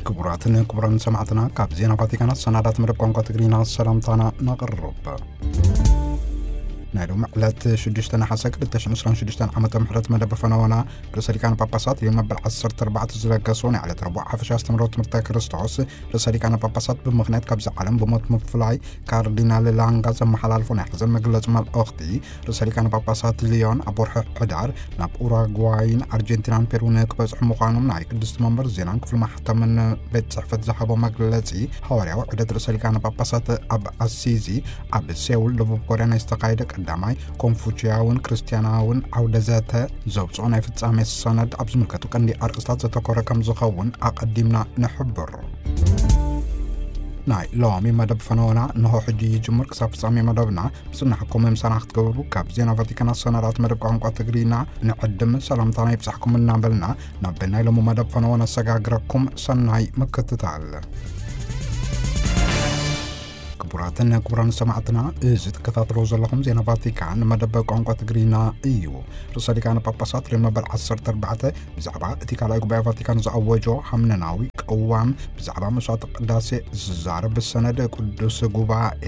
ክቡራትን ክቡራን ሰማዕትና፣ ካብ ዜና ቫቲካን ኣሰናዳት መደብ ቋንቋ ትግርኛ ሰላምታና ነቕርብ። ናይ ሎሚ ዕለት ሽዱሽተ ነሓሰ ክልተ ሽሕን ዕስራን ሽዱሽተን ዓመተ ምሕረት መደብ ፈነወና ርእሰ ሊቃነ ጳጳሳት ሊዮን መበል ዓሰርተ ኣርባዕተ ዝለገሶ ናይ ዕለት ረቡዕ ሓፈሻ ኣስተምህሮ ትምህርተ ክርስቶስ፣ ርእሰ ሊቃነ ጳጳሳት ብምኽንያት ካብዚ ዓለም ብሞት ምፍላይ ካርዲናል ላንጋ ዘመሓላልፎ ናይ ሓዘን መግለጺ መልእኽቲ፣ ርእሰ ሊቃነ ጳጳሳት ሊዮን ኣብ ወርሒ ሕዳር ናብ ኡራጓይን ኣርጀንቲናን ፔሩን ክበጽሑ ምዃኖም ናይ ቅድስቲ መንበር ዜናን ክፍሊ ማሕተምን ቤት ጽሕፈት ዝሃቦ መግለጺ፣ ሃዋርያዊ ዑደት ርእሰ ሊቃነ ጳጳሳት ኣብ ኣሲዚ፣ ኣብ ሴውል ደቡብ ኮርያ ናይ ዝተኻየደ ቀዳማይ ኮንፉችያውን ክርስትያናውን ዓውደ ዘተ ዘውፅኦ ናይ ፍጻሜ ሰነድ ኣብ ዝምልከቱ ቀንዲ ኣርእስታት ዘተኮረ ከም ዝኸውን ኣቐዲምና ንሕብር። ናይ ሎሚ መደብ ፈነወና እንሆ ሕጂ ይጅምር። ክሳብ ፍጻሜ መደብና ብጽናሕኩም ምሳና ክትገብሩ ካብ ዜና ቫቲካን ኣሰናዳት መደብ ቋንቋ ትግርኛ ንዕድም። ሰላምታና ይብጻሕኩም እናበልና ናብ ናይ ሎሚ መደብ ፈነወ ነሰጋግረኩም። ሰናይ ምክትታል። ክቡራትን ክቡራን ሰማዕትና፣ እዚ ትከታተልዎ ዘለኹም ዜና ቫቲካን መደብ ቋንቋ ትግርኛ እዩ። ርእሰ ሊቃነ ጳጳሳት ሊዮን መበል ዓሰርተ ኣርባዕተ ብዛዕባ እቲ ካልኣይ ጉባኤ ቫቲካን ዝኣወጆ ሃምነናዊ ቅዋም ብዛዕባ መስዋዕቲ ቅዳሴ ዝዛረብ ሰነድ ቅዱስ ጉባኤ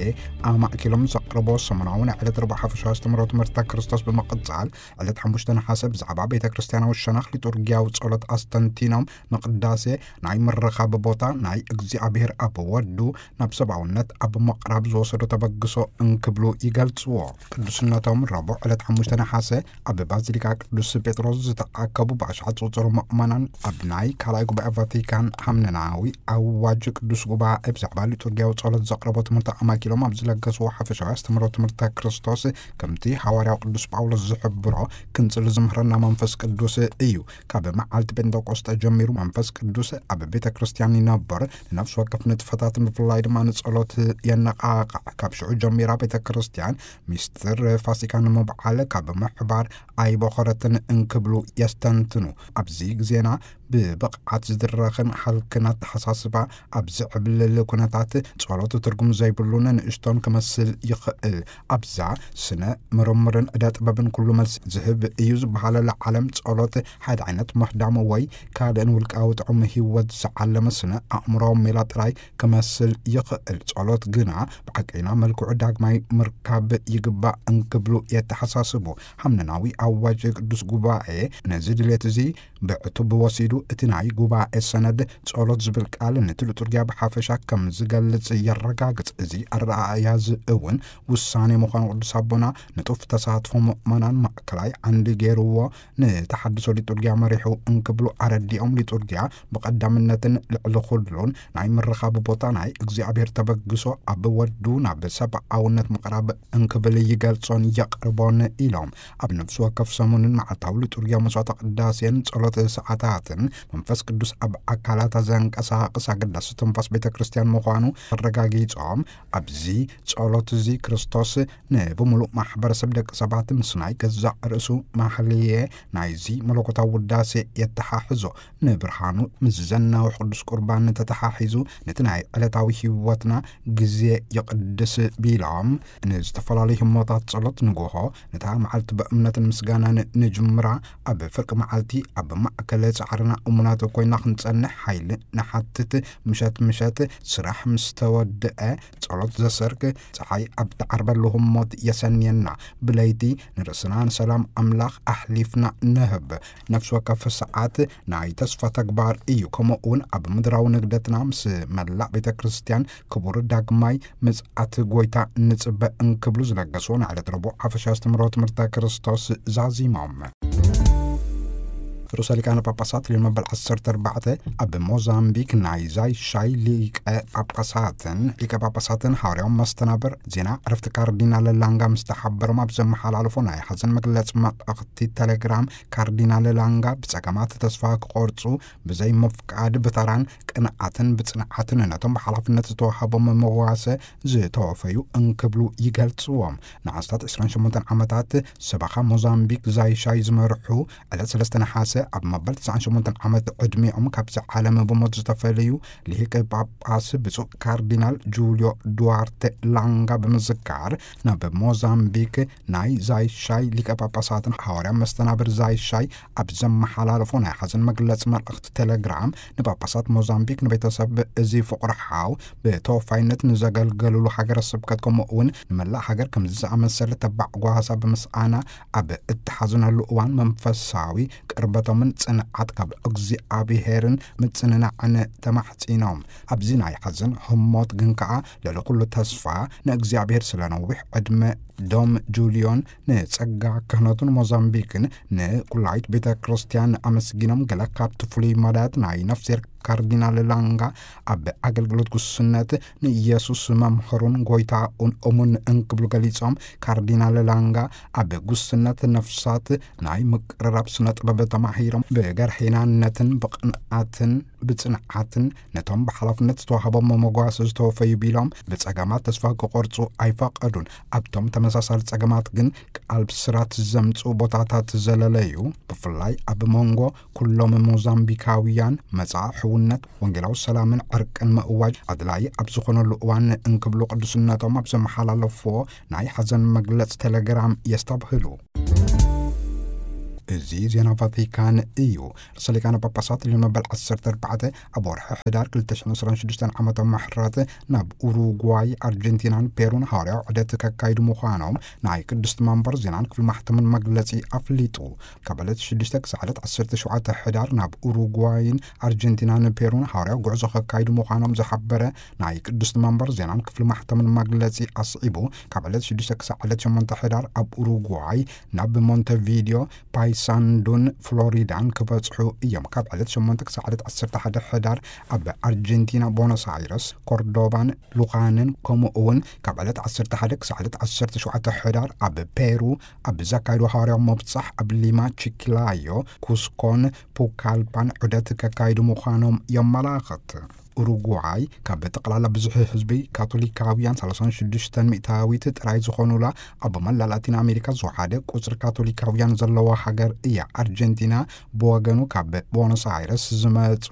ኣማእኪሎም ዘቕርቦ ሰሙናዊ ናይ ዕለት ረቡዕ ሓፈሻዊ ኣስተምህሮ ትምህርተ ክርስቶስ ብምቕጻል፣ ዕለት ሓሙሽተ ነሓሰ ብዛዕባ ቤተ ክርስቲያናዊ ሸነኽ ሊጡርጊያዊ ጸሎት ኣስተንቲኖም ንቅዳሴ ናይ ምርኻብ ቦታ ናይ እግዚኣብሔር ኣብ ወዱ ናብ ሰብኣውነት ኣብ ምቕራብ ዝወሰዶ ተበግሶ እንክብሉ ይገልጽዎ። ቅዱስነቶም ረቡዕ ዕለት ሓሙሽተ ነሓሰ ኣብ ባዚሊካ ቅዱስ ጴጥሮስ ዝተኣከቡ ብኣሽሓት ዝቑጸሩ ምእመናን ኣብ ናይ ካልኣይ ጉባኤ ቫቲካን ሃምነናዊ ኣዋጅ ቅዱስ ጉባኤ ብዛዕባ ሊጡርጊያዊ ጸሎት ዘቕረቦ ትምህርቲ ኣማኪሎም ኣብ ዝለገስዎ ሓፈሻዊ ኣስተምህሮ ትምህርተ ክርስቶስ፣ ከምቲ ሃዋርያው ቅዱስ ጳውሎስ ዝሕብሮ፣ ክንጽሊ ዝምህረና መንፈስ ቅዱስ እዩ። ካብ መዓልቲ ጴንጠቆስጠ ጀሚሩ መንፈስ ቅዱስ ኣብ ቤተ ክርስቲያን ይነብር፣ ንነፍሲ ወከፍ ንጥፈታት ብፍላይ ድማ ንጸሎት የነቓቕሕ። ካብ ሽዑ ጀሚራ ቤተ ክርስቲያን ሚስጥር ፋሲካ ንምብዓል ካብ ምሕባር ኣይቦኸረትን እንክብሉ የስተንትኑ። ኣብዚ ግዜና ብብቕዓት ዝድረኽን ሃልክን ኣተሓሳስባ ኣብ ዝዕብልል ኩነታት፣ ጸሎት ትርጉም ዘይብሉን ንእሽቶን ክመስል ይኽእል። ኣብዛ ስነ ምርምርን ዕደ ጥበብን ኩሉ መልሲ ዝህብ እዩ ዝበሃለላ ዓለም፣ ጸሎት ሓደ ዓይነት ምህዳም ወይ ካልእን ውልቃዊ ጥዑም ህይወት ዝዓለመ ስነ ኣእምሮዊ ሜላ ጥራይ ክመስል ይኽእል። ጸሎት ግና ብሓቀይና መልክዑ ዳግማይ ምርካብ ይግባእ እንክብሉ የተሓሳስቡ። ሃምነናዊ ኣዋጅ ቅዱስ ጉባኤ ነዚ ድሌት እዚ ብዕቱብ ወሲዱ፣ እቲ ናይ ጉባኤ ሰነድ ጸሎት ዝብል ቃል ነቲ ሊጡርጊያ ብሓፈሻ ከም ዝገልጽ የረጋግጽ። እዚ ኣረኣእያ እዚ እውን ውሳኔ ምዃኑ ቅዱስ ኣቦና ንጡፍ ተሳትፎ ምእመናን ማእከላይ ዓንዲ ገይርዎ፣ ንተሓድሶ ሊጡርጊያ መሪሑ እንክብሉ ኣረዲኦም፣ ሊጡርጊያ ብቐዳምነትን ልዕሊ ኩሉን ናይ ምርኻብ ቦታ ናይ እግዚኣብሔር ተበግሶ ኣብ ወዱ ናብ ሰብኣውነት ምቕራብ እንክብል ይገልጾን የቕርቦን ኢሎም። ኣብ ነፍሲ ወከፍ ሰሙንን መዓልታዊ ሊጡርጊያ መስዋዕተ ቅዳሴን ጸሎት ሰዓታትን መንፈስ ቅዱስ ኣብ ኣካላታ ዘንቀሳቕስ ኣገዳሲ ትንፋስ ቤተ ክርስቲያን ምዃኑ ኣረጋጊጾም፣ ኣብዚ ጸሎት እዚ ክርስቶስ ንብምሉእ ማሕበረሰብ ደቂ ሰባት ምስ ናይ ገዛእ ርእሱ ማህልየ ናይዚ መለኮታዊ ውዳሴ የተሓሕዞ። ንብርሃኑ ምስ ዘናውሕ ቅዱስ ቁርባን ተተሓሒዙ ነቲ ናይ ዕለታዊ ህይወትና ግዜ ይቕድስ ቢሎም፣ ንዝተፈላለዩ ህሞታት ጸሎት ንግሆ ነታ መዓልቲ ብእምነትን ምስጋናን ንጅምራ። ኣብ ፍርቂ መዓልቲ ኣብ ማእከል ጻዕርና እሙናት ኮይና ክንጸንሕ ሓይሊ ንሓትት። ምሸት ምሸት ስራሕ ምስ ተወድአ ጸሎት ዘሰርክ፣ ጸሓይ ኣብ ትዓርበሉ ህሞት የሰንየና። ብለይቲ ንርእስና ንሰላም ኣምላኽ ኣሕሊፍና ንህብ። ነፍሲ ወከፍ ሰዓት ናይ ተስፋ ተግባር እዩ። ከምኡ እውን ኣብ ምድራዊ ንግደትና ምስ መላእ ቤተ ክርስቲያን ክቡር ዳግማይ ምጽኣት ጐይታ ንጽበ እንክብሉ ዝለገስዎ ናይ ዕለት ረቡዕ ሓፈሻ ኣስተምህሮ ትምህርተ ክርስቶስ ዛዚሞም። ርእሰ ሊቃነ ጳጳሳት ሊዮን መበል ዓሰርተ ኣርባዕተ ኣብ ሞዛምቢክ ናይ ዛይሻይ ሊቀ ጳጳሳትን ሊቀ ጳጳሳትን ሓዋርያዊ መስተናብር ዜና ዕረፍቲ ካርዲናል ላንጋ ምስ ተሓበሮም ኣብ ዘመሓላለፎ ናይ ሓዘን መግለጺ መልእኽቲ ቴሌግራም፣ ካርዲናል ላንጋ ብጸገማት ተስፋ ክቖርጹ ብዘይ ምፍቃድ ብተራን ቅንዓትን ብጽንዓትን ነቶም ብሓላፍነት ዝተዋህቦም መዋሰ ዝተወፈዩ እንክብሉ ይገልጽዎም። ንኣስታት ዕስራን ሸሞንተን ዓመታት ሰበኻ ሞዛምቢክ ዛይሻይ ዝመርሑ ዕለት ሰለስተ ነሓሰ ኣብ መበል ትስዓን ሸሞንተን ዓመት ዕድሜኦም ካብዚ ዓለም ብሞት ዝተፈለዩ ሊቀ ጳጳስ ብፁዕ ካርዲናል ጁልዮ ዱዋርተ ላንጋ ብምዝካር፣ ናብ ሞዛምቢክ ናይ ዛይሻይ ሊቀ ጳጳሳትን ሓዋርያ መስተናብር ዛይሻይ ኣብ ዘመሓላለፎ ናይ ሓዘን መግለጺ መልእኽቲ ቴሌግራም፣ ንጳጳሳት ሞዛምቢክ፣ ንቤተሰብ እዚ ፍቑር ሓው፣ ብተወፋይነት ንዘገልገሉሉ ሃገረ ስብከት፣ ከምኡ እውን ንመላእ ሃገር ከምዚ ዝኣመሰለ ተባዕ ጓሳ ብምስኣና፣ ኣብ እተሓዝነሉ እዋን መንፈሳዊ ቅርበቶምን ጽንዓት ካብ እግዚኣብሄርን ምጽንናዕን ተማሕጺኖም። ኣብዚ ናይ ሓዘን ህሞት ግን ከኣ ልዕሊ ኩሉ ተስፋ ንእግዚኣብሄር ስለ ነዊሕ ዕድመ ዶም ጁልዮን ንጸጋ ክህነቱን ሞዛምቢክን ንኩላይት ቤተ ክርስቲያን ኣመስጊኖም፣ ገለ ካብቲ ፍሉይ መዳያት ናይ ነፍስሄር ካርዲናል ላንጋ ኣብ ኣገልግሎት ጉስነት ንኢየሱስ መምህሩን ጎይታኡን እሙን እንክብሉ ገሊጾም፣ ካርዲናል ላንጋ ኣብ ጉስነት ነፍሳት ናይ ምቅርራብ ስነ ጥበብ ተማሂሮም፣ ብገርሒናነትን ብቕንኣትን ብጽንዓትን ነቶም ብሓላፍነት ዝተዋህቦም መጓሰ ዝተወፈዩ ቢሎም፣ ብጸገማት ተስፋ ክቆርጹ ኣይፈቐዱን። ኣብቶም ተመሳሳሊ ጸገማት ግን ቃል ብስራት ዘምጽኡ ቦታታት ዘለለዩ፣ ብፍላይ ኣብ መንጎ ኩሎም ሞዛምቢካውያን መጻኢ ሕውነት፣ ወንጌላዊ ሰላምን ዕርቅን ምእዋጅ ኣድላዪ ኣብ ዝኾነሉ እዋን እንክብሉ ቅዱስነቶም ኣብ ዘመሓላለፍዎ ናይ ሓዘን መግለጽ ቴሌግራም የስተብህሉ። እዚ ዜና ቫቲካን እዩ። ርእሰ ሊቃነ ጳጳሳት ሊዮን መበል ዓሰርተ ኣርባዕተ ኣብ ወርሒ ሕዳር ክልተ ሽሕን ዕስራን ሽዱሽተን ዓመተ ምሕረት ናብ ኡሩጓይ፣ ኣርጀንቲናን ፔሩን ሃዋርያዊ ዑደት ከካይዱ ምዃኖም ናይ ቅድስቲ መንበር ዜናን ክፍሊ ማሕተምን መግለጺ ኣፍሊጡ። ካብ ዕለት ሽዱሽተ ክሳዕ ዕለት ዓሰርተ ሸውዓተ ሕዳር ናብ ኡሩጓይን ኣርጀንቲናን ፔሩን ሃዋርያዊ ጉዕዞ ከካይዱ ምዃኖም ዝሓበረ ናይ ቅድስቲ መንበር ዜናን ክፍሊ ማሕተምን መግለጺ ኣስዒቡ፣ ካብ ዕለት ሽዱሽተ ክሳዕ ዕለት ሸሞንተ ሕዳር ኣብ ኡሩጓይ ናብ ሞንተቪዲዮ፣ ፓይሳንዱን ፍሎሪዳን ክበጽሑ እዮም። ካብ ዕለት ሸሞንተ ክሳዕ ዕለት ዓሰርተ ሓደ ሕዳር ኣብ ኣርጀንቲና፣ ቦኖስ ኣይረስ፣ ኮርዶባን ሉኻንን፣ ከምኡ እውን ካብ ዕለት ዓሰርተ ሓደ ክሳዕ ዕለት ዓሰርተ ሸውዓተ ሕዳር ኣብ ፔሩ ኣብ ዘካይዱ ሃዋርያዊ መብጻሕ፣ ኣብ ሊማ፣ ቺክላዮ፣ ኩስኮን ፑካልፓን ዑደት ከካይዱ ምዃኖም የመላኽት። ኡሩጓይ ካብ ጠቕላላ ብዙሕ ህዝቢ ካቶሊካውያን ሰላሳን ሽዱሽተን ሚእታዊት ጥራይ ዝኾኑላ፣ ኣብ መላእ ላቲን ኣሜሪካ ዝወሓደ ቁጽሪ ካቶሊካውያን ዘለዋ ሃገር እያ። ኣርጀንቲና ብወገኑ ካብ ቦኖስ ኣይረስ ዝመጹ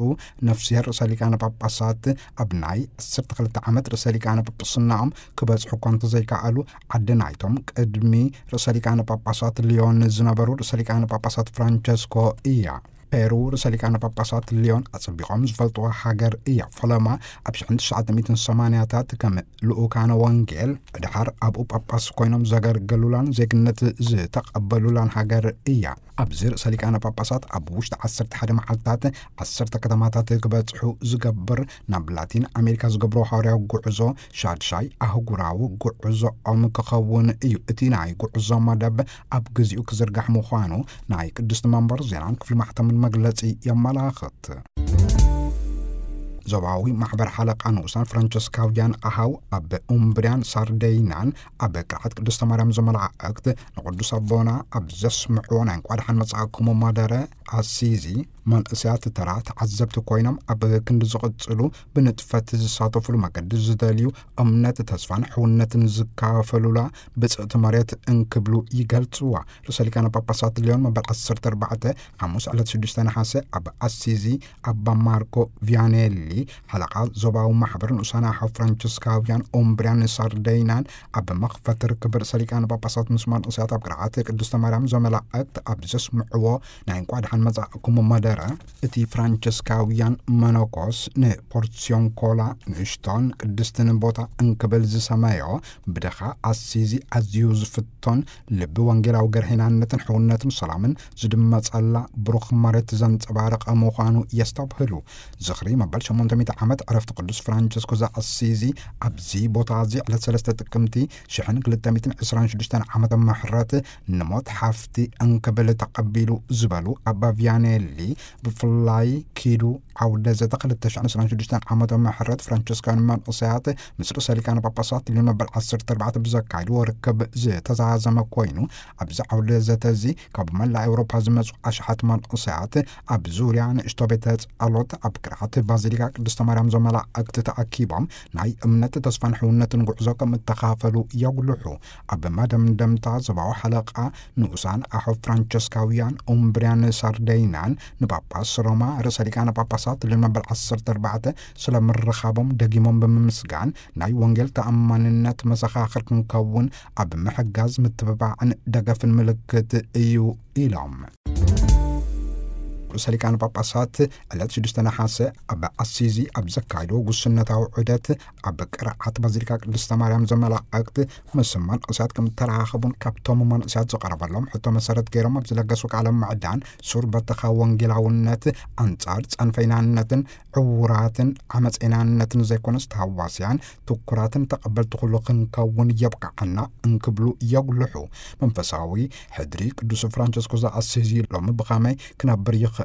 ነፍስሄር ርእሰ ሊቃነ ጳጳሳት ኣብ ናይ ዓሰርተ ክልተ ዓመት ርእሰ ሊቃነ ጳጳስናኦም ክበጽሑ እኳ እንተዘይከኣሉ፣ ዓዲ ናይቶም ቅድሚ ርእሰ ሊቃነ ጳጳሳት ሊዮን ዝነበሩ ርእሰ ሊቃነ ጳጳሳት ፍራንቸስኮ እያ። ፔሩ ርእሰ ሊቃነ ጳጳሳት ሊዮን ኣጸቢቖም ዝፈልጥዋ ሃገር እያ። ፈለማ ኣብ ሽሕን ትሽዓተ ሚእትን ሰማንያታት ከም ልኡካነ ወንጌል፣ ድሓር ኣብኡ ጳጳስ ኮይኖም ዘገልገሉላን ዜግነት ዝተቐበሉላን ሃገር እያ። ኣብዚ ርእሰ ሊቃነ ጳጳሳት ኣብ ውሽጢ ዓሰርተ ሓደ መዓልታት ዓሰርተ ከተማታት ክበጽሑ ዝገብር፣ ናብ ላቲን ኣሜሪካ ዝገብሮ ሃዋርያዊ ጉዕዞ ሻድሻይ ኣህጉራዊ ጉዕዞኦም ክኸውን እዩ። እቲ ናይ ጉዕዞ መደብ ኣብ ግዚኡ ክዝርጋሕ ምዃኑ ናይ ቅድስቲ መንበር ዜናን ክፍሊ ማሕተምን መግለጺ የመላኽት። ዞባዊ ማሕበር ሓለቓ ንኡሳን ፍራንቸስካውያን ኣሃው ኣብ ኡምብርያን ሳርደይናን ኣብ ቅርዓት ቅድስተ ማርያም ዘመላእክት ንቅዱስ ኣቦና ኣብ ዘስምዕዎ ናይ እንቋ ደሓን መጻእኩም መደረ ኣሲዚ፣ መንእሰያት ተራ ተዓዘብቲ ኮይኖም ኣብ ክንዲ ዝቕጽሉ ብንጥፈት ዝሳተፉሉ መገዲ ዝደልዩ፣ እምነት፣ ተስፋን ሕውነትን ዝካፈሉላ ብጽእቲ መሬት እንክብሉ ይገልጽዋ። ርእሰ ሊቃነ ጳጳሳት ሊዮን መበል ዓሰርተ ኣርባዕተ ሓሙስ ዕለት ሽዱሽተ ነሓሰ ኣብ ኣሲዚ ኣባ ማርኮ ቪያኔሊ፣ ሓለቓ ዞባዊ ማሕበር ንኡሳን ኣሓው ፍራንቸስካውያን ኡምብርያን ሳርደይናን ኣብ መኽፈቲ ርክብ ርእሰ ሊቃነ ጳጳሳት ምስ መንእሰያት ኣብ ቅርዓት ቅድስተ ማርያም ዘመላእክት ኣብ ዘስምዕዎ ናይ እንቋ ደሓን መጻእኩም መደረ፣ እቲ ፍራንቸስካውያን መነኮስ ንፖርሲዮንኮላ ንእሽቶን ቅድስትን ቦታ እንክብል ዝሰመዮ፣ ብድኻ ኣሲዚ ኣዝዩ ዝፍቶን ልቢ ወንጌላዊ ገርሂናነትን ሕውነትን ሰላምን ዝድመጸላ ብሩኽ መሬት ዘንጸባረቐ ምዃኑ የስተብህሉ። ዝኽሪ መበል ሸሞንተ ሚእቲ ዓመት ዕረፍቲ ቅዱስ ፍራንቸስኮ ዘኣሲዚ ኣብዚ ቦታ እዚ ዕለት ሰለስተ ጥቅምቲ ሽሕን ክልተ ሚእትን ዕስራን ሽዱሽተን ዓመተ ምሕረት ንሞት ሓፍቲ እንክብል ተቐቢሉ ዝበሉ ኣባ ቪያኔሊ፣ ብፍላይ ኪዱ ዓውደ ዘተ ክልተ ሽሕን ዕስራን ሽዱሽተን ዓመተ ምሕረት ፍራንቸስካውያን መንእሰያት ምስ ርእሰ ሊቃነ ጳጳሳት ሊዮን መበል ዓሰርተ ኣርባዕተ ብዘካይድዎ ርክብ ዝተዛዘመ ኮይኑ፣ ኣብዚ ዓውደ ዘተ እዚ ካብ መላእ ኤውሮፓ ዝመጹ ኣሽሓት መንእሰያት ኣብ ዙርያ ንእሽቶ ቤተ ጸሎት ኣብ ቅርዓት ባዚሊካ ቅድስተ ማርያም ዘመላእክት ተኣኪቦም ናይ እምነት፣ ተስፋን ሕውነትን ጉዕዞ ከም እተኻፈሉ የጉልሑ። ኣብ መደምደምታ ዞባዊ ሓለቓ ንኡሳን ኣሖ ፍራንቸስካውያን ኡምብርያን ሳርደይናን ንጳጳስ ሮማ ርእሰ ሊቃነ ጳጳሳት ልዮን መበል ዓሰርተ ኣርባዕተ ስለ ምርኻቦም ደጊሞም ብምምስጋን፣ ናይ ወንጌል ተኣማንነት መሰኻኽር ክንከውን ኣብ ምሕጋዝ ምትብባዕን ደገፍን ምልክት እዩ ኢሎም። ርእሰ ሊቃነ ጳጳሳት ዕለት ሽዱሽተ ነሓሰ ኣብ ኣሲዚ ኣብ ዘካየድዎ ጉስነታዊ ዑደት፣ ኣብ ቅርዓት ባዚሊካ ቅድስተ ማርያም ዘመላእክት ምስ መንእሰያት ከም እተራኸቡን ካብቶም መንእሰያት ዝቐረበሎም ሕቶ መሰረት ገይሮም ኣብ ዝለገሱ ቃለ ምዕዳን ሱር በተኻ ወንጌላውነት ኣንጻር ጸንፈይናነትን ዕውራትን ዓመፀይናነትን ዘይኮነስ ተሃዋስያን ትኩራትን ተቐበልቲ ኩሉ ክንከውን የብቅዓና እንክብሉ የጉልሑ። መንፈሳዊ ሕድሪ ቅዱስ ፍራንቸስኮ ዘኣሲዚ ሎሚ ብኸመይ ክነብር ይኽእል?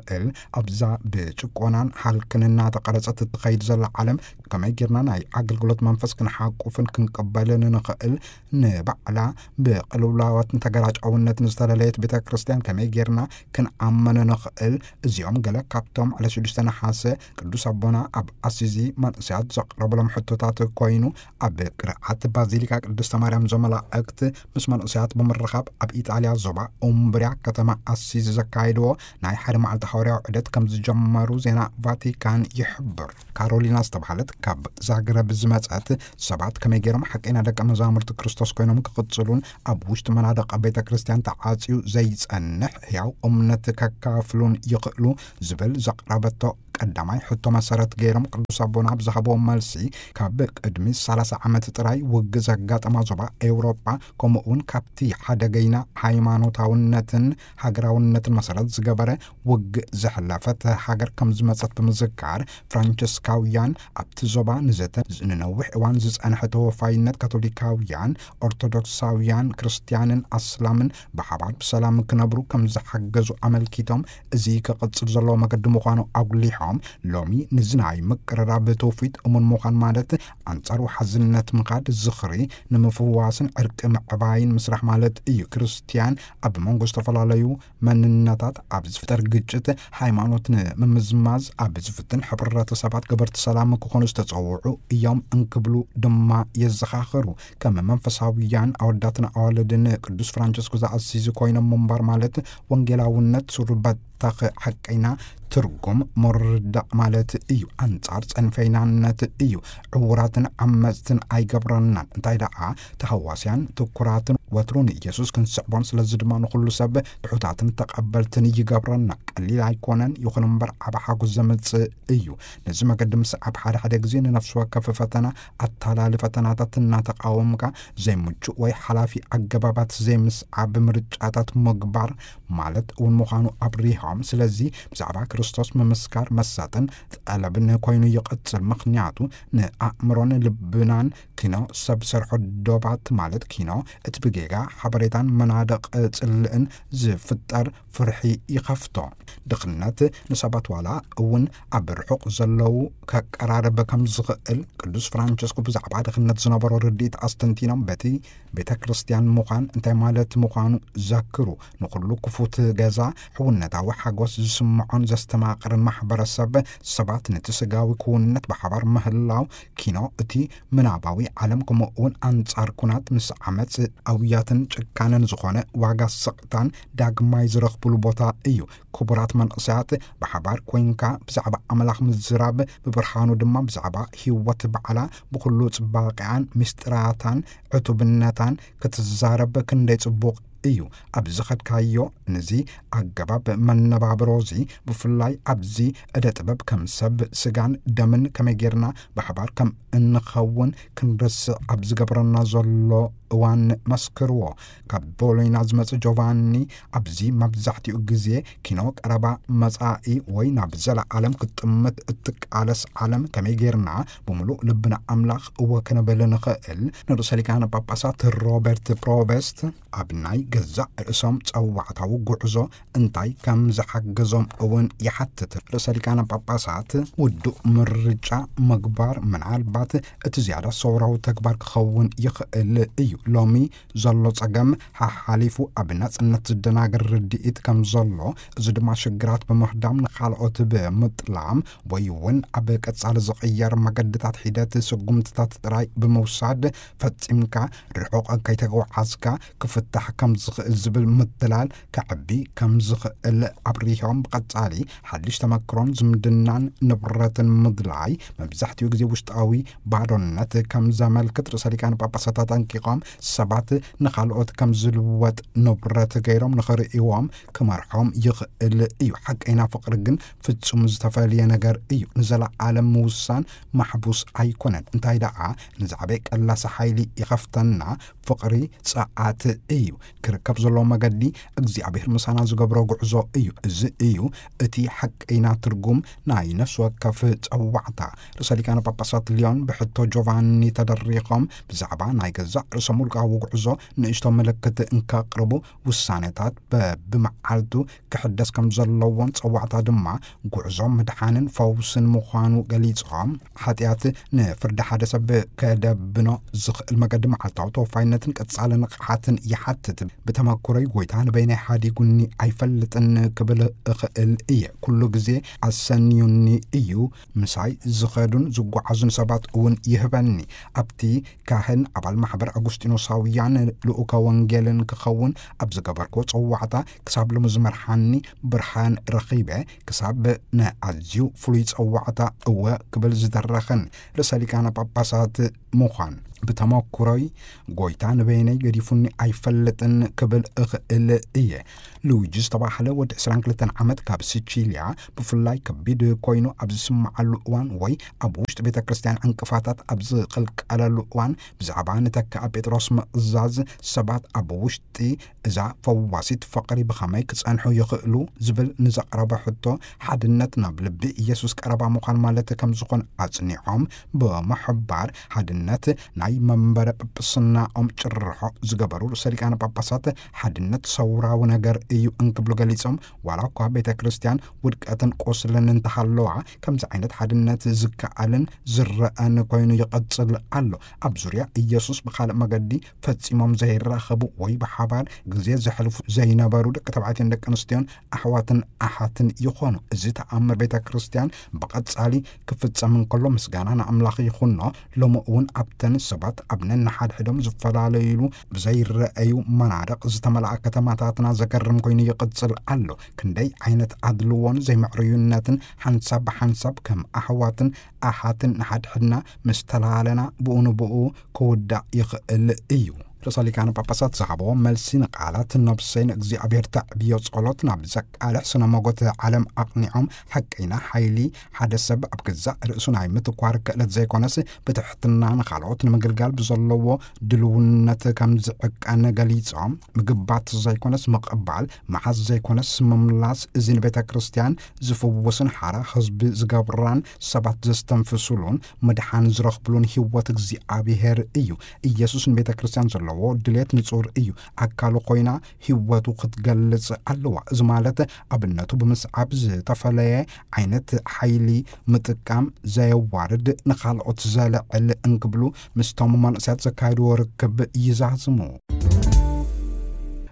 ኣብዛ ብጭቆናን ሃልክን እናተቐረጸት እትኸይድ ዘላ ዓለም ከመይ ጌርና ናይ ኣገልግሎት መንፈስ ክንሓቁፍን ክንቅበልን ንኽእል? ንባዕላ ብቅልውላዋትን ተገራጫውነትን ዝተለለየት ቤተ ክርስቲያን ከመይ ጌርና ክንኣመን ንኽእል? እዚኦም ገለ ካብቶም ዕለት ሽዱሽተ ነሓሰ ቅዱስ ኣቦና ኣብ ኣሲዚ መንእሰያት ዘቕረብሎም ሕቶታት ኮይኑ፣ ኣብ ቅርዓት ባዚሊካ ቅድስተ ማርያም ዘመላእክት ምስ መንእሰያት ብምርኻብ ኣብ ኢጣልያ ዞባ ኡምብርያ ከተማ ኣሲዚ ዘካየድዎ ናይ ሓደ መዓልቲ ሃዋርያዊ ዑደት ከም ዝጀመሩ ዜና ቫቲካን ይሕብር። ካሮሊና ዝተባህለት ካብ ዛግረብ ዝመጸት፣ ሰባት ከመይ ገይሮም ሓቀይና ደቀ መዛሙርቲ ክርስቶስ ኮይኖም ክቕጽሉን ኣብ ውሽጢ መናድቕ ቤተ ክርስቲያን ተዓጽዩ ዘይጸንሕ ሕያው እምነት ከካፍሉን ይኽእሉ ዝብል ዘቕረበቶ ቀዳማይ ሕቶ መሰረት ገይሮም ቅዱስ ኣቦና ኣብ ዝሃብዎ መልሲ፣ ካብ ቅድሚ ሰላሳ ዓመት ጥራይ ውግእ ዘጋጠማ ዞባ ኤውሮጳ፣ ከምኡ እውን ካብቲ ሓደገይና ሃይማኖታውነትን ሃገራውነትን መሰረት ዝገበረ ውግእ ዘሕለፈት ሃገር ከም ዝመጸት ብምዝካር፣ ፍራንቸስካውያን ኣብቲ ዞባ ንዘተ ንነዊሕ እዋን ዝጸንሐ ተወፋይነት ካቶሊካውያን፣ ኦርቶዶክሳውያን፣ ክርስትያንን ኣስላምን ብሓባር ብሰላም ክነብሩ ከም ዝሓገዙ ኣመልኪቶም፣ እዚ ክቕጽል ዘለዎ መገዲ ምዃኑ ኣጉሊሖም፣ ሎሚ ንዚ ናይ ምቅርራብ ትውፊት እሙን ምዃን ማለት ኣንጻር ወሓዝነት ምኻድ፣ ዝኽሪ ንምፍዋስን ዕርቂ ምዕባይን ምስራሕ ማለት እዩ። ክርስትያን ኣብ መንጎ ዝተፈላለዩ መንነታት ኣብ ዝፍጠር ግጭት፣ ሃይማኖት ንምምዝማዝ ኣብ ዝፍትን ሕብረተሰባት ገበርቲ ሰላም ክኾኑ ዝተጸውዑ እዮም እንክብሉ ድማ የዘኻኽሩ። ከም መንፈሳውያን ኣወዳትን ኣዋልድን ቅዱስ ፍራንቸስኮ ዘኣሲዚ ኮይኖም ምንባር ማለት ወንጌላውነት ሱር በተኽ ሓቀይና ትርጉም ምርዳእ ማለት እዩ። ኣንጻር ጸንፈይናነት እዩ። ዕውራትን ዓመጽትን ኣይገብረናን። እንታይ ደኣ ተሃዋስያን ትኩራትን ወትሩ ንኢየሱስ ክንስዕቦን ስለዚ ድማ ንኹሉ ሰብ ትሑታትን ተቐበልትን ይገብረና። ቀሊል ኣይኮነን፣ ይኹን እምበር ዓቢ ሓጎስ ዘምጽእ እዩ። ነዚ መገዲ ምስዓብ ሓደ ሓደ ግዜ ንነፍሲ ወከፍ ፈተና ኣታላሊ ፈተናታት እናተቃወምካ ዘይምቹእ ወይ ሓላፊ ኣገባባት ዘይምስዓብ ምርጫታት ምግባር ማለት እውን ምዃኑ ኣብሪሆም። ስለዚ ብዛዕባ ክርስቶስ ምምስካር መሳጥን ጠለብን ኮይኑ ይቕጽል። ምኽንያቱ ንኣእምሮን ልብናን ኪኖ ሰብ ሰርሖ ዶባት ማለት ኪኖ እቲ ብጌጋ ሓበሬታን መናድቕ ጽልእን ዝፍጠር ፍርሒ ይኸፍቶ። ድኽነት ንሰባት ዋላ እውን ኣብ ርሑቕ ዘለዉ ከቀራርብ ከም ዝኽእል ቅዱስ ፍራንቸስኮ ብዛዕባ ድኽነት ዝነበሮ ርድኢት ኣስተንቲኖም፣ በቲ ቤተ ክርስቲያን ምዃን እንታይ ማለት ምዃኑ ዘክሩ። ንኹሉ ክፉት ገዛ፣ ሕውነታዊ ሓጎስ ዝስምዖን ዘስተማቕርን ማሕበረሰብ፣ ሰባት ነቲ ስጋዊ ክውንነት ብሓባር ምህላው፣ ኪኖ እቲ ምናባዊ ዓለም፣ ከምኡ እውን ኣንጻር ኩናት ምስ ዓመጽ፣ ኣውያትን ጭካነን ዝኾነ ዋጋ ስቕታን ዳግማይ ዝረኽብሉ ቦታ እዩ። ክቡራት መንእሰያት፣ ብሓባር ኮይንካ ብዛዕባ ኣምላኽ ምዝራብ፣ ብብርሃኑ ድማ ብዛዕባ ህይወት ባዕላ ብኹሉ ጽባቐኣን ምስጢራታን ዕቱብነታን ክትዛረብ ክንደይ ጽቡቕ እዩ። ኣብ ዝኸድካዮ፣ ነዚ ኣገባብ መነባብሮ እዚ፣ ብፍላይ ኣብዚ እደ ጥበብ ከም ሰብ ስጋን ደምን ከመይ ጌርና ብሓባር ከም እንኸውን ክንርስዕ ኣብ ዝገብረና ዘሎ እዋን መስክርዎ። ካብ ቦሎይና ዝመጽእ ጆቫኒ፣ ኣብዚ መብዛሕትኡ ግዜ ኪኖ ቀረባ መጻኢ ወይ ናብ ዘለኣለም ክትጥምት እትቃለስ ዓለም ከመይ ጌርና ብምሉእ ልብና ኣምላኽ እወ ክንብል ንኽእል? ንርእሰ ሊቃነ ጳጳሳት ሮበርት ፕሮቨስት ኣብ ናይ ገዛእ ርእሶም ጸዋዕታዊ ጉዕዞ እንታይ ከም ዝሓገዞም እውን ይሓትት። ርእሰ ሊቃነ ጳጳሳት ውዱእ ምርጫ ምግባር ምናልባት እቲ ዝያዳ ሰውራዊ ተግባር ክኸውን ይኽእል እዩ። ሎሚ ዘሎ ጸገም ሓሓሊፉ ኣብ ናጽነት ዝደናገር ርድኢት ከም ዘሎ፣ እዚ ድማ ሽግራት ብምኽዳም ንኻልኦት ብምጥላም ወይ እውን ኣብ ቀጻሊ ዝቕየር መገድታት ሒደት ስጉምትታት ጥራይ ብምውሳድ ፈጺምካ ርሑቕ ከይተጓዓዝካ ክፍታሕ ከም ዝኽእል ዝብል ምትላል ከዕቢ ከም ዝኽእል ኣብሪሆም፣ ብቐጻሊ ሓድሽ ተመክሮን ዝምድናን ንብረትን ምድላይ መብዛሕትኡ ግዜ ውሽጣዊ ባዶነት ከም ዘመልክት ርእሰ ሊቃነ ጳጳሳት ኣጠንቂቖም፣ ሰባት ንኻልኦት ከም ዝልወጥ ንብረት ገይሮም ንኽርእይዎም ክመርሖም ይኽእል እዩ። ሓቀይና ፍቕሪ ግን ፍጹም ዝተፈልየ ነገር እዩ። ንዘለዓለም ምውሳን ማሕቡስ ኣይኮነን። እንታይ ደኣ ንዛዕበ ቀላሲ ሓይሊ ይኸፍተና፣ ፍቕሪ ጸዓት እዩ። ክርከብ ዘለዎ መገዲ እግዚኣብሔር ምሳና ዝገብሮ ጉዕዞ እዩ። እዚ እዩ እቲ ሓቀይና ትርጉም ናይ ነፍሲ ወከፍ ጸዋዕታ። ርእሰ ሊቃነ ጳጳሳት ሊዮን ብሕቶ ጆቫኒ ተደሪኾም ብዛዕባ ናይ ገዛእ ርእሶም ውልቃዊ ጉዕዞ ንእሽቶ ምልክት እንከቕርቡ፣ ውሳኔታት በብመዓልቱ ክሕደስ ከም ዘለዎን ጸዋዕታ ድማ ጉዕዞ ምድሓንን ፈውስን ምዃኑ ገሊጾም፣ ሓጢኣት ንፍርዲ ሓደ ሰብ ከደብኖ ዝኽእል መገዲ መዓልታዊ ተወፋይነትን ቀጻሊ ንቕሓትን ይሓትት። ብተመክሮይ ጎይታ ንበይነይ ሓዲጉኒ ኣይፈልጥን ክብል እኽእል እየ። ኩሉ ግዜ ኣሰንዩኒ እዩ። ምሳይ ዝኸዱን ዝጓዓዙን ሰባት እውን ይህበኒ። ኣብቲ ካህን ኣባል ማሕበር ኣጉስጢኖሳውያን ልኡከ ወንጌልን ክኸውን ኣብ ዝገበርክዎ ጸዋዕታ ክሳብ ሎሚ ዝመርሓኒ ብርሃን ረኺበ። ክሳብ ንኣዝዩ ፍሉይ ጸዋዕታ እወ ክብል ዝደረኸኒ ርእሰ ሊቃነ ጳጳሳት ምዃን ብተመኩሮይ ጎይታ ንበይነይ ገዲፉኒ ኣይፈልጥን ክብል እኽእል እየ። ሉዊጂ ዝተባህለ ወዲ ዕስራን ክልተን ዓመት ካብ ሲቺልያ ብፍላይ ከቢድ ኮይኑ ኣብ ዝስምዓሉ እዋን ወይ ኣብ ውሽጢ ቤተ ክርስቲያን ዕንቅፋታት ኣብ ዝቕልቀለሉ እዋን ብዛዕባ ንተክኣ ጴጥሮስ ምእዛዝ ሰባት ኣብ ውሽጢ እዛ ፈዋሲት ፍቕሪ ብኸመይ ክጸንሑ ይኽእሉ ዝብል ንዘቕረበ ሕቶ ሓድነት ናብ ልቢ ኢየሱስ ቀረባ ምዃን ማለት ከም ዝኾን ኣጽኒዖም ብምሕባር ሓድነት ናይ መንበረ ጵጵስናኦም ጭርሖ ዝገበሩ ርእሰ ሊቃነ ጳጳሳት ሓድነት ሰውራዊ ነገር እዩ እንክብሉ ገሊጾም ዋላ እኳ ቤተ ክርስቲያን ውድቀትን ቁስልን እንተሃለዋ ከምዚ ዓይነት ሓድነት ዝከኣልን ዝረአን ኮይኑ ይቐጽል ኣሎ። ኣብ ዙርያ ኢየሱስ ብኻልእ መገዲ ፈጺሞም ዘይራኸቡ ወይ ብሓባር ግዜ ዘሕልፉ ዘይነበሩ ደቂ ተባዕትዮን ደቂ ኣንስትዮን ኣሕዋትን ኣሓትን ይኾኑ። እዚ ተኣምር ቤተ ክርስቲያን ብቐጻሊ ክፍጸም እንከሎ ምስጋና ንኣምላኽ ይኹኖ። ሎሚ እውን ኣብተን ሰባት ኣብ ነንሓድሕዶም ዝፈላለዩሉ ብዘይረኣዩ መናድቕ ዝተመልኣ ከተማታትና ዘገርም ኮይኑ ይቕጽል ኣሎ። ክንደይ ዓይነት ኣድልዎን ዘይምዕርዩነትን ሓንሳብ ብሓንሳብ ከም ኣሕዋትን ኣሓትን ንሓድሕድና ምስ ተላለና ብኡ ንብኡ ክውዳእ ይኽእል እዩ። ርእሰ ሊቃነ ጳጳሳት ዝሃብዎ መልሲ ንቃላት ነብሰይ ንእግዚኣብሔር ተዕብዮ ጸሎት ናብ ዘቃልሕ ስነ መጎት ዓለም ኣቕኒዖም ሓቀይና ሓይሊ ሓደ ሰብ ኣብ ገዛእ ርእሱ ናይ ምትኳር ክእለት ዘይኮነስ ብትሕትና ንኻልኦት ንምግልጋል ብዘለዎ ድልውነት ከም ዝዕቀን ገሊጾም ምግባት ዘይኮነስ ምቕባል፣ ምሓዝ ዘይኮነስ ምምላስ እዚ ንቤተ ክርስቲያን ዝፍውስን ሓራ ህዝቢ ዝገብራን ሰባት ዘስተንፍሱሉን ምድሓን ዝረኽብሉን ህይወት እግዚኣብሔር እዩ። ኢየሱስ ንቤተ ክርስቲያን ዘለዎ ድሌት ንጹር እዩ። ኣካሉ ኮይና ህይወቱ ክትገልጽ ኣለዋ። እዚ ማለት ኣብነቱ ብምስዓብ ዝተፈለየ ዓይነት ሓይሊ ምጥቃም ዘየዋርድ ንኻልኦት ዘልዕል እንክብሉ ምስቶም መንእሰያት ዘካየድዎ ርክብ ይዛዝሙ።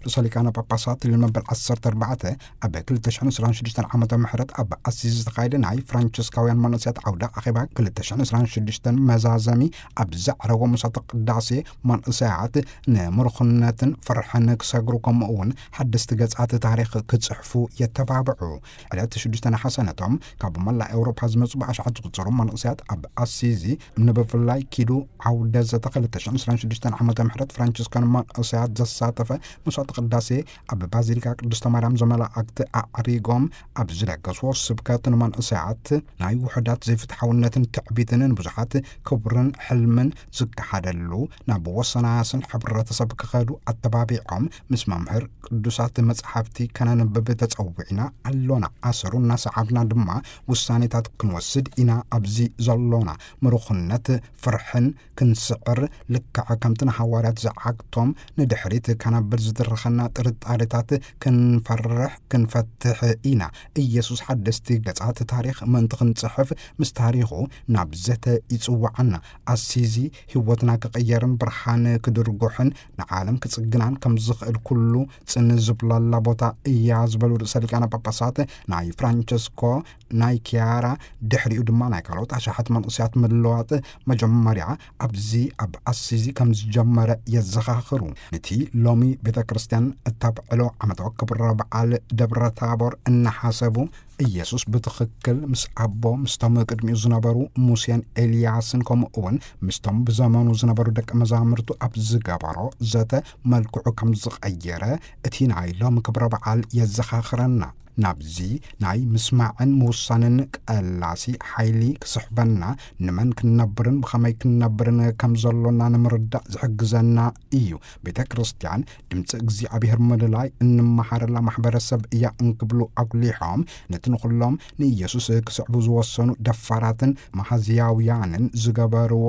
ርእሰ ሊቃነ ጳጳሳት ሊዮን መበል ዓሰርተ ኣርባዕተ ኣብ ክልተ ሽሕን ዕስራን ሽዱሽተን ዓመተ ምሕረት ኣብ ኣሲዝ ዝተኻየደ ናይ ፍራንቸስካውያን መንእሰያት ዓውደ ኣኼባ ክልተ ሽሕን ዕስራን ሽዱሽተን መዛዘሚ ኣብ ዘዕረጎ ምሳተ ቅዳሴ መንእሰያት ንምርኹነትን ፍርሕን ክሰግሩ ከምኡ እውን ሓደስቲ ገጻት ታሪኽ ክጽሕፉ የተባብዑ። ዕለት ሽዱሽተ ነሓሰ ነቶም ካብ መላእ ኤውሮፓ ዝመጹ ብኣሽሓት ዝቑጸሩ መንእሰያት ኣብ ኣሲዚ ንብፍላይ ኪዱ ዓውደ ዘተ ክልተ ሽሕን ዕስራን ሽዱሽተን ዓመተ ምሕረት ፍራንቸስካን መንእሰያት ዘሳተፈ መስዋዕቲ ቅዳሴ ኣብ ባዚሊካ ቅድስተ ማርያም ዘመላእክቲ ኣዕሪጎም ኣብ ዝለገስዎ ስብከት ንመንእሰያት ናይ ውሑዳት ዘይፍትሓውነትን ትዕቢትን ንብዙሓት ክብርን ሕልምን ዝከሓደሉ ናብ ወሰናስን ሕብረተሰብ ክኸዱ ኣተባቢዖም ምስ መምህር ቅዱሳት መጻሕፍቲ ከነንብብ ተጸዊዕና ኣሎና። ኣሰሩ እናሰዓብና ድማ ውሳኔታት ክንወስድ ኢና ኣብዚ ዘሎና። ምሩኽነት ፍርሕን ክንስዕር ልክዕ ከምቲ ንሃዋርያት ዝዓግቶም ንድሕሪት ከነብል ዝድርኽ ዝብጽሓና ጥርጣሬታት ክንፈርሕ ክንፈትሕ ኢና። ኢየሱስ ሓደስቲ ገጻት ታሪኽ ምእንቲ ክንጽሕፍ ምስ ታሪኹ ናብ ዘተ ይጽውዓና። ኣሲዚ ህይወትና ክቕየርን ብርሃን ክድርጉሕን ንዓለም ክጽግናን ከም ዝኽእል ኩሉ ጽን ዝብላላ ቦታ እያ ዝበሉ ርእሰ ሊቃነ ጳጳሳት ናይ ፍራንቸስኮ ናይ ኪያራ ድሕሪኡ ድማ ናይ ካልኦት ኣሽሓት መንእሰያት ምልዋጥ መጀመርያ ኣብዚ ኣብ ኣሲዚ ከም ዝጀመረ የዘኻኽሩ። ነቲ ሎሚ ቤተ ክርስቲያን እተብዕሎ ዓመታዊ ክብረ በዓል ደብረ ታቦር እናሓሰቡ ኢየሱስ ብትኽክል ምስ ኣቦ ምስቶም ቅድሚኡ ዝነበሩ ሙሴን ኤልያስን ከምኡ እውን ምስቶም ብዘመኑ ዝነበሩ ደቂ መዛሙርቱ ኣብ ዝገበሮ ዘተ መልክዑ ከም ዝቐየረ እቲ ናይ ሎሚ ክብረ በዓል የዘኻኽረና። ናብዚ ናይ ምስማዕን ምውሳንን ቀላሲ ሓይሊ ክስሕበና፣ ንመን ክንነብርን ብኸመይ ክንነብርን ከም ዘሎና ንምርዳእ ዝሕግዘና እዩ። ቤተ ክርስቲያን ድምፂ እግዚኣብሔር ምልላይ እንመሃረላ ማሕበረሰብ እያ እንክብሉ ኣጉሊሖም፣ ነቲ ንኹሎም ንኢየሱስ ክስዕቡ ዝወሰኑ ደፋራትን መሃዝያውያንን ዝገበርዎ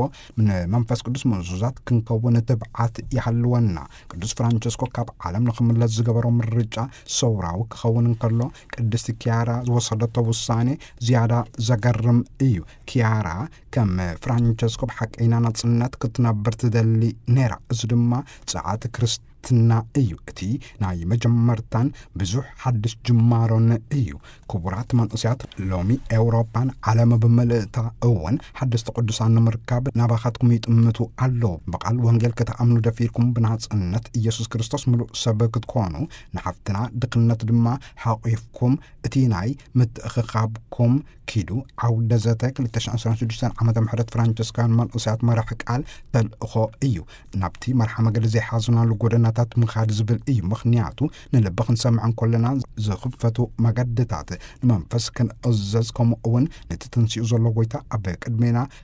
ንመንፈስ ቅዱስ ምእዙዛት ክንከውን ትብዓት ይሃልወና። ቅዱስ ፍራንቸስኮ ካብ ዓለም ንኽምለስ ዝገበሮ ምርጫ ሰውራዊ ክኸውን እንከሎ፣ ቅድስቲ ኪያራ ዝወሰደቶ ውሳኔ ዝያዳ ዘገርም እዩ። ኪያራ ከም ፍራንቸስኮ ብሓቀይና ናጽነት ክትነብር ትደሊ ነይራ። እዚ ድማ ጸዓት ክርስትና እዩ። እቲ ናይ መጀመርታን ብዙሕ ሓድሽ ጅማሮን እዩ። ክቡራት መንእሰያት፣ ሎሚ ኤውሮጳን ዓለም ብምልእታ እውን ሓደስቲ ቅዱሳን ንምርካብ ናባኻትኩም ይጥምቱ ኣለዉ። ብቓል ወንጌል ክትኣምኑ ደፊርኩም ብናጽነት ኢየሱስ ክርስቶስ ምሉእ ሰብ ክትኮኑ፣ ንሓፍትና ድኽነት ድማ ሓቒፍኩም፣ እቲ ናይ ምትእኽኻብኩም ኪዱ ዓውደ ዘተ ክልተ ሽሕን ዕስራን ሽዱሽተን ዓመተ ምሕረት ፍራንቸስካውያን መንእሰያት መራሕ ቃል ተልእኾ እዩ። ናብቲ መርሓ መገዲ ዘይሓዙናሉ ጎደናታት ምኻድ ዝብል እዩ። ምኽንያቱ ንልቢ ክንሰምዕ እንከለና ዝኽፈቱ መገድታት ንመንፈስ ክንእዘዝ፣ ከምኡ እውን ነቲ ተንሲኡ ዘሎ ጎይታ ኣብ ቅድሜና